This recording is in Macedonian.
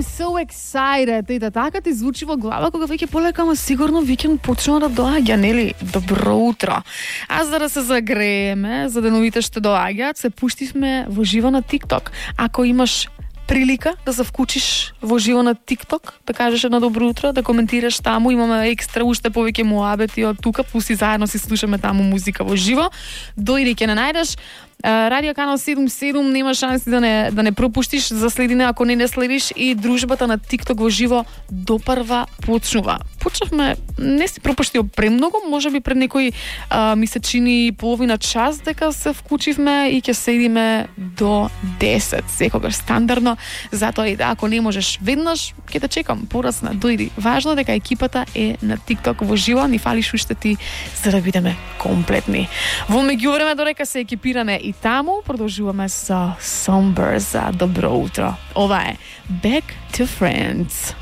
I'm so excited. И така ти звучи во глава кога веќе полека, ама сигурно викенд почнува да доаѓа, нели? Добро утро. А за да се загрееме за деновите што доаѓаат, се пуштивме во живо на TikTok. Ако имаш прилика да се вклучиш во живо на TikTok, да кажеш едно добро утро, да коментираш таму, имаме екстра уште повеќе муабети од тука, пусти заедно си слушаме таму музика во живо. Дојди ќе не најдеш Радио Канал 77, нема шанси да не пропуштиш, заследине ако не следиш, и дружбата на TikTok во живо допрва почнува. Почнавме, не си пропуштил премногу, можеби пред некои месечини и половина час дека се вклучивме и ќе седиме до 10, секогаш стандардно, затоа и да, ако не можеш веднаш, ќе те чекам, порасна, дојди. Важно дека екипата е на TikTok во живо, ни фалиш уште ти за да бидеме комплетни. Во меѓувреме, додека се екипираме и таму, продолжуваме со Somber за добро утро. Ова е Back to Friends.